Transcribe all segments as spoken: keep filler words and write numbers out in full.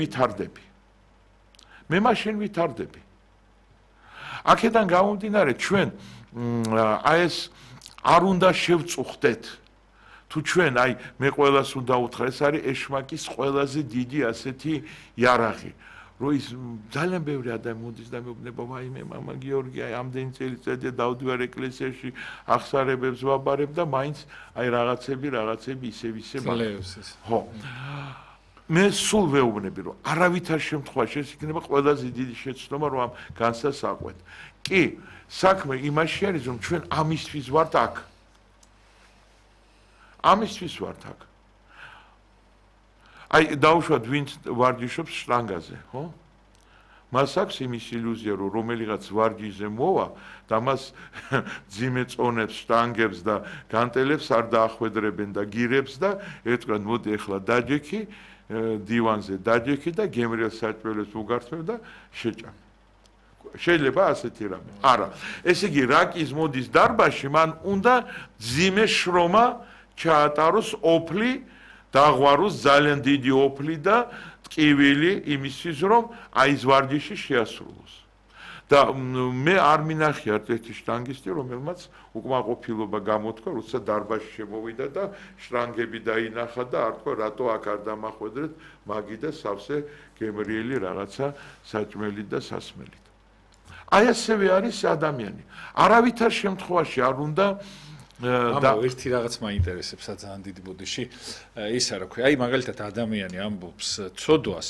ვითარდები. მე მაშინ ვითარდები. აქედან გამომდინარე ჩვენ აი ეს არ უნდა შევწუხდეთ. თუ ჩვენ აი მე ყველას უნდა უთხრა ეს არის ეშმაკის ყველაზე დიდი ასეთი იარაღი. რო ის ძალიან ბევრი ადამიანი მოდის და მეუბნება ვაიმე მამა გიორგი აი ამდენი წელიწადია დავდივარ ეკლესიაში აღსარებებს ვაბარებ და მაინც აი რაღაცები რაღაცები ისევ ისევ ხო მე სულ ვეუბნები რომ არავითარ შემთხვევაში ეს იქნება ყველაზე დიდი შეცდომა რომ ამ განსას აყვეთ. კი საქმე იმაში არის რომ ჩვენ ამისთვის ვართ აქ. ამისთვის ვართ აქ. აი დავუშვათ ვინც ვარჯიშობს შტანგაზე, ხო? მას აქვს იმის ილუზია რომ რომელიღაც ვარჯიშზე მოვა და მას ძიმე წონებს, შტანგებს და განტელებს არ დაახვედრებენ და გირებს და ეთქვენ მოდი ახლა დაჯექი დივანზე დაჯექი და გემრიელ საჭმელებს უგართებ და შეჭამ. შეიძლება ასეთი რამე. არა, ესე იგი რაკის მოდის დარბაზში, მან უნდა ძიმე შრომა ჩაატაროს ოფლი დაღვაროს ძალიან დიდი ოფლი და ტკივილი იმისთვის რომ აი ეს ვარჯიში შეასრულოს. და მე არ მინახიართ ერთი შტანგისტი რომელმაც უკმაყოფილება გამოთქვა როცა დარბაზში შემოვიდა და შტანგები დაინახა და არ თქვა რატო აქ არ დამახვედრეთ მაგი და სავსე გემრიელი რაღაცა საჭმელი და სასმელით. აი ასევე არის ადამიანი. არავითარ შემთხვევაში არ უნდა და ერთი რაღაც მაინტერესებს ძალიან დიდი ბოდიში ის არა ქვია აი მაგალითად ადამიანი ამბობს ცოდვას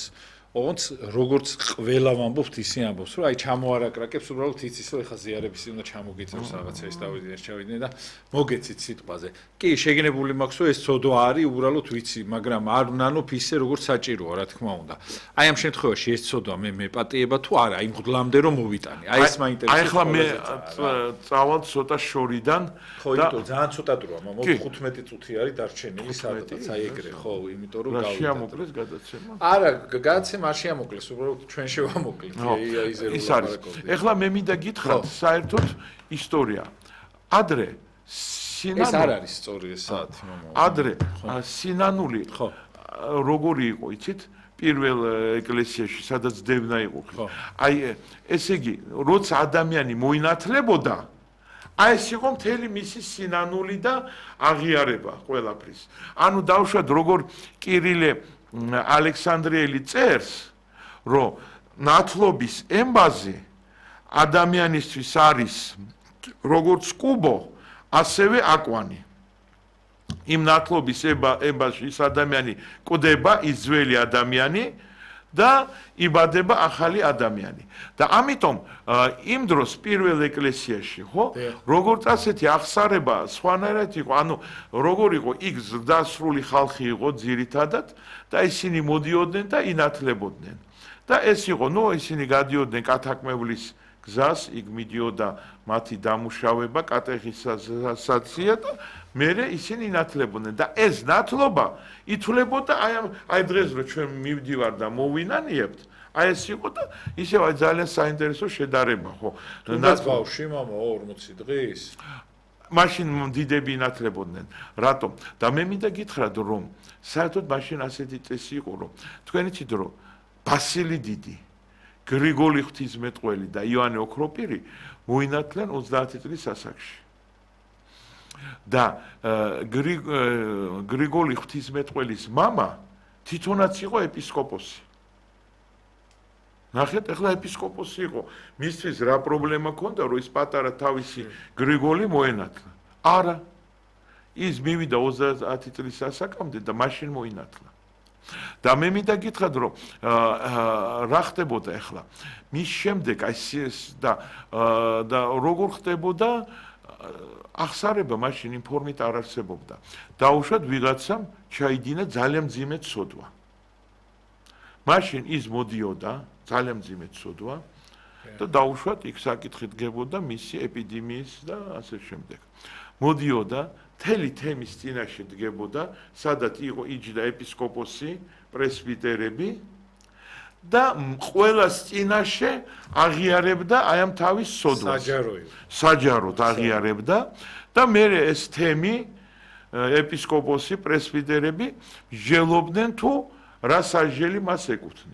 ოღონდ როგორც ყველა ვამბობთ ისე ამბობს რომ აი ჩამოარაკრაკებს უბრალოდ იცის რომ ეხა ზიარების უნდა ჩამოგიწევს რაღაცა ეს დავიდნენ შევიდნენ და მოგეცით სიტყვაზე კი შეგნებული მაქვს რომ ეს ცოდვა არის უბრალოდ ვიცი მაგრამ არ ნანოფ ისე როგორც საჭიროა რა თქმა უნდა აი ამ შემთხვევაში ეს ცოდვა მე მეპატიება თუ არა აი მღვდლამდე რომ მოვიტანე აი ეს მაინტერესებს აი ახლა მე წავალ ცოტა შორიდან ხო იმიტომ ძალიან ცოტა დროა მომ ხუთმეტი წუთი არის დარჩენილი სადღაც აი ეგრე ხო იმიტომ რომ გავიდა შეამოკლეს გადაცემა არა გადაცემა არ შეამოკლეს უბრალოდ ჩვენ შევამოკლეთ აიზერო ის არის ეხლა მე მინდა გითხრათ საერთოდ ისტორია ადრე სინანული ეს არ არის სწორი ეს საათი მამა ადრე სინანული როგორი იყო იცით პირველ ეკლესიაში სადაც დევნა იყო აი ესე იგი როცა ადამიანი მოინათლებოდა აი ეს იყო მთელი მისი სინანული და აღიარება ყველაფრის ანუ დავუშვათ როგორ კირილე ალექსანდრიელი წერს რომ ნათლობის ემბაზი ადამიანისთვის არის როგორც კუბო ასევე აკვანი იმ ნათლობის ემბაზში ის ადამიანი კვდება ის ძველი ადამიანი და იბადება ახალი ადამიანი და ამიტომ იმ დროს პირველ ეკლესიაში ხო როგორც ასეთი აღსარება სხვანაირად იყო ანუ როგორ იყო იქ ზრდასრული ხალხი იყო ძირითადად და ისინი მოდიოდნენ და ინათლებოდნენ და ეს იყო ნუ ისინი გადიოდნენ კათაკმევლის გზას იქ მიდიოდა მათი დამუშავება კატეხიზაცია და მერე ისინი ინათლებოდნენ და ეს ნათლობა ითვლებოდა აი აი დღეს რო ჩვენ მივდივარ და მოვინანიებთ აი ეს იყო და ისევ აი ძალიან საინტერესო შედარება ხო თუნდაც ბავშვი მამა ორმოცი დღის მაშინ დიდები ინათლებოდნენ რატომ და მე მინდა გითხრათ რომ საერთოდ მაშინ ასეთი წესი იყო რომ თქვენ იცით რომ ბასილი დიდი გრიგოლი ღვთისმეტყველი და იოანე ოქროპირი მოინათლენ ოცდაათი წლის ასაკში და გრიგოლი ღვთისმეტყველის მამა თვითონაც იყო ეპისკოპოსი. ნახეთ, ახლა ეპისკოპოსი იყო. მისთვის რა პრობლემა ქონდა, რომ ის პატარა თავისი გრიგოლი მოენათლა? არა. ის მივიდა ოცდაათი წლის ასაკამდე და მაშინ მოინათლა. და მე მინდა გითხრათ, რომ რა ხდებოდა ახლა? მის შემდეგ აი და და როგორ ხდებოდა აღსარება მაშინ იმ ფორმით არ არსებობდა. დაუშვათ ვიღაცამ ჩაიდინა ძალიან მძიმე ცოდვა. მაშინ ის მოდიოდა ძალიან მძიმე ცოდვა და დაუშვათ იქ საკითხი დგებოდა მისი ეპიდემიის და ასე შემდეგ. მოდიოდა მთელი თემის წინაშე დგებოდა, სადაც იყო იჯდა ეპისკოპოსი, პრესვიტერები და ყველას წინაშე აღიარებდა აი ამ თავის სოდვას. საჯაროა. საჯაროდ აღიარებდა და მე ეს თემი ეპისკოპოსი, პრესვიტერები ჟელობდნენ თუ რა სასჯელი მას ეკუთვნის.